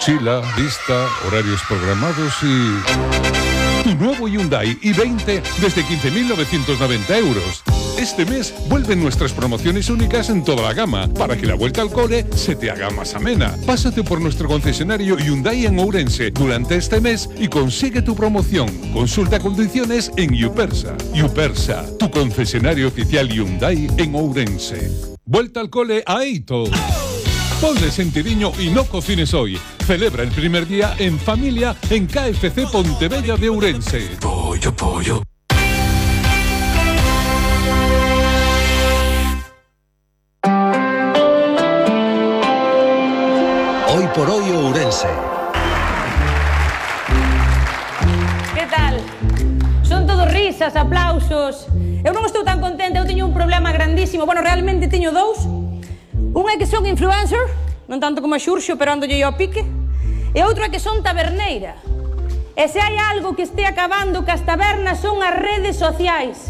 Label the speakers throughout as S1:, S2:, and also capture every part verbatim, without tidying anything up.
S1: mochila, lista, horarios programados y... Tu nuevo Hyundai i veinte desde quince mil novecientos noventa euros. Este mes vuelven nuestras promociones únicas en toda la gama para que la vuelta al cole se te haga más amena. Pásate por nuestro concesionario Hyundai en Ourense durante este mes y consigue tu promoción. Consulta condiciones en Yupersa. Yupersa, tu concesionario oficial Hyundai en Ourense. Vuelta al cole a Eito. Ponle sentidiño y no cocines hoy. Celebra el primer día en familia en K F C Pontevella de Ourense.
S2: Pollo, pollo. Hoy por hoy Ourense.
S3: Que tal? Son todos risas, aplausos. Eu non estou tan contenta, eu teño un problema grandísimo. Bueno, realmente teño dous. Un é que son influencer, non tanto como a Xurxo, pero ando yo ao pique. E outro é que son taberneira. E se hai algo que este acabando cas tabernas son as redes sociais.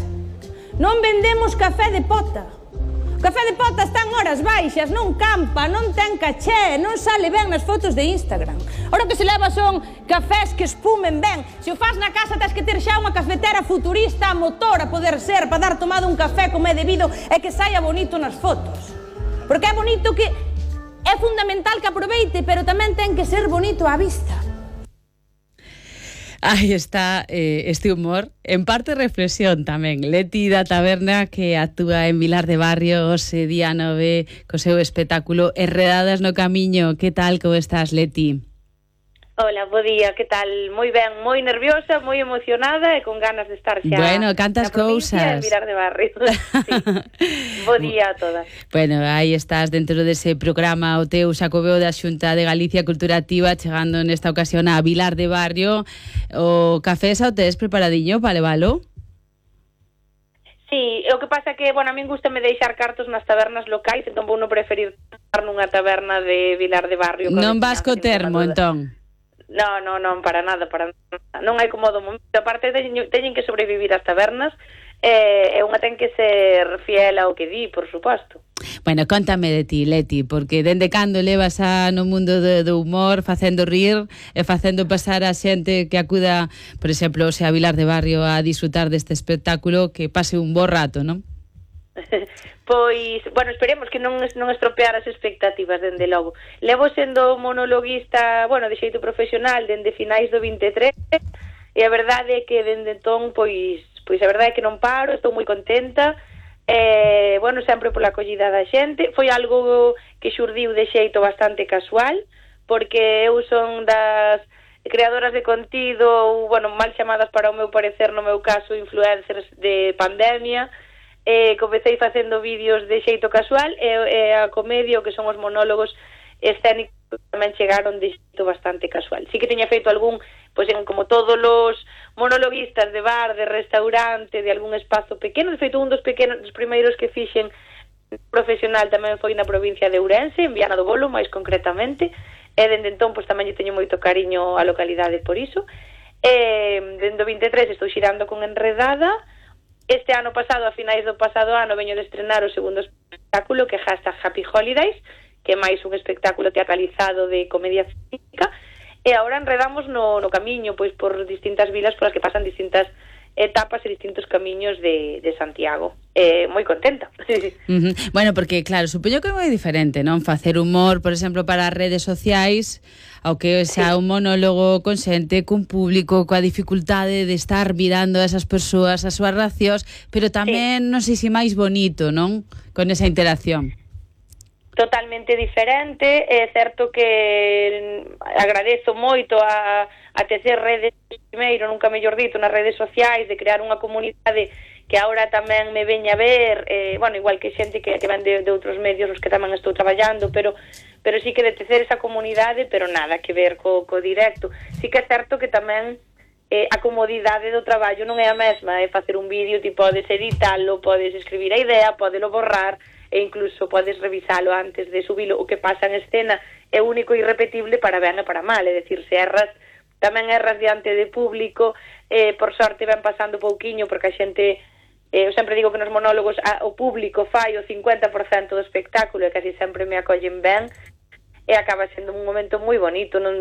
S3: Non vendemos café de pota. O café de pota está en horas baixas, non campa, non ten caché, non sale ben nas fotos de Instagram. Ora que se leva son cafés que espumen ben. Se o faz na casa tens que ter xa unha cafetera futurista a motor a poder ser para dar tomado un café como é debido e que saia bonito nas fotos. Porque é bonito que... É fundamental que aproveite, pero tamén ten que ser bonito á vista.
S4: Aí está eh, este humor, en parte reflexión tamén. Leti da Taberna, que actúa en Vilar de Barrio ose día nove co seu espectáculo Enredadas no Camiño. Que tal, como estás, Leti?
S5: Hola, bo día, que tal? Moi ben, moi nerviosa, moi emocionada e con ganas de estar xa.
S4: Bueno, cantas cousas.
S5: En Vilar de Barrio. Sí. Bo día a todas.
S4: Bueno, aí estás dentro dese programa o teu Xacobeo da Xunta de Galicia Culturativa, chegando nesta ocasión a Vilar de Barrio. O café xa o tes preparadiño para levalo?
S5: Sí, o que pasa que, bueno, a min gustame deixar cartos nas tabernas locais, entón vou non preferir estar nunha taberna de Vilar de Barrio.
S4: Non vas co termo, entón?
S5: No, no, non, para nada, para nada. Non hai como do momento. Aparte, teñen, teñen que sobrevivir as tabernas e eh, unha ten que ser fiel ao que di, por suposto.
S4: Bueno, contame de ti, Leti, porque dende cando levas a, no mundo do, do humor facendo rir e facendo pasar a xente que acuda, por exemplo, se a Vilar de Barrio a disfrutar deste espectáculo, que pase un bo rato, non?
S5: Pois, bueno, esperemos que non, non estropear as expectativas, dende logo. Levo sendo monologuista, bueno, de xeito profesional dende finais do vinte e tres, e a verdade é que dende entón, pois, pois a verdade é que non paro, estou moi contenta, e, bueno, sempre pola acollida da xente. Foi algo que xurdiu de xeito bastante casual, porque eu son das creadoras de contido, ou, bueno, mal chamadas para o meu parecer, no meu caso, influencers de pandemia. Eh, comecei facendo vídeos de xeito casual e, e a comedia, o que son os monólogos escénicos, tamén chegaron de xeito bastante casual. Sí que teña feito algún, pois en como todos os monologuistas de bar, de restaurante, de algún espazo pequeno. De feito, un dos pequenos, dos primeiros que fixen profesional tamén foi na provincia de Ourense, en Viana do Bolo, máis concretamente, e dende entón pois tamén lle teño moito cariño á localidade por iso. E dende o vinte e tres estou xirando con Enredada. Este ano pasado, a finais do pasado ano, veño de estrenar o segundo espectáculo, que é hashtag Happy Holidays, que é máis un espectáculo teatralizado de comedia física, e agora enredamos no, no camiño, pois por distintas vilas polas que pasan distintas etapas e distintos camiños de, de Santiago. Eh, moi contenta.
S4: Uh-huh. Bueno, porque, claro, supoño que é moi diferente, non? Facer humor, por exemplo, para as redes sociais, ao que xa un monólogo con xente, cun público, coa dificultade de estar mirando a esas persoas, as súas reaccións, pero tamén, sí, non sei se máis bonito, non? Con esa interacción.
S5: Totalmente diferente. É certo que agradezo moito a, a tecer redes, primeiro, nunca mellor dito, nas redes sociais, de crear unha comunidade que agora tamén me veña a ver, eh, bueno, igual que xente que, que van de, de outros medios os que tamén estou traballando, pero pero sí que de tecer esa comunidade, pero nada que ver co, co directo. Sí que é certo que tamén eh, a comodidade do traballo non é a mesma, é facer un vídeo, ti podes editalo, podes escribir a idea, podelo borrar, e incluso podes revisalo antes de subilo. O que pasa en escena é único e irrepetible para ben e para mal, é dicir, se erras, tamén erras diante de público, eh, por sorte ven pasando pouquiño, porque a xente, eh, eu sempre digo que nos monólogos a, o público fai o cincuenta por cento do espectáculo e casi sempre me acollen ben, e acaba sendo un momento moi bonito, non